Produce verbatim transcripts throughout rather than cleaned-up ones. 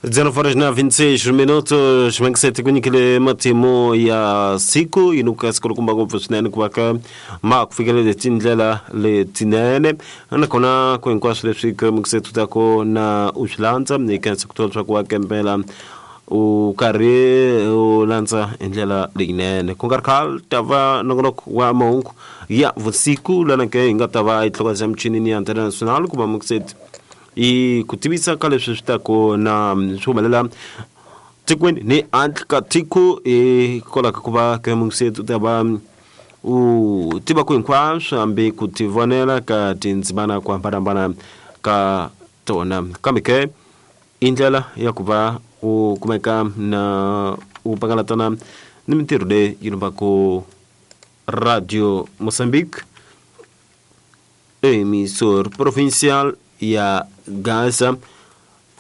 dezenove horas na vinte e seis minutos, mangisete kunyikile matimu ya siku inuka sikulukumba ngopfu swinene ku va ka ma ku fikelele tindlela letinene nakona ku hinkwaswo leswi ka mangisete u ta ku na u swi landza ni khensa ku tiva leswaku wa kempela u karhi u landza hi ndlela leyinene ku nga ri khale ta va nongonoko wa mahungu ya vusiku lana ke hi nga ta va hi tlhokaza michinini ya Antena Nacional ku va mangisete i ku tivisa ka leswi swi ta ku na swi humelela tikweni ni handle ka tiko hikwalaho ka ku va ka mungiseto u ta va u tiva ku hinkwaswo hambi ku tivonela ka tindzimana ku hambanahambana ka tona kambe ke i ndlela ya ku va u kumeka na u pangalatana ni mintirho leyi yi lumbaku Radio Moçambique, emissor provincial ya Gaza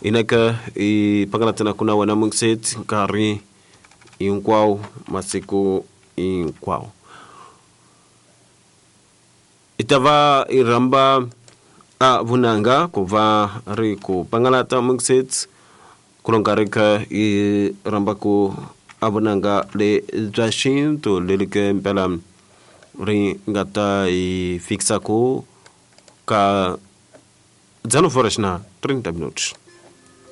inaka i pangalatana kuna wena mungiset nkarhi hinkwawo masiku hinkwawo i ta va i rhamba a vunanga ku va ri ku pangalata mungiset ku lo nkarhi kha i rhamba ku a vunanga le bya xintu leri ke mpela ri nga ta hi fikisa ku ka dezenove horas na trinta minutos.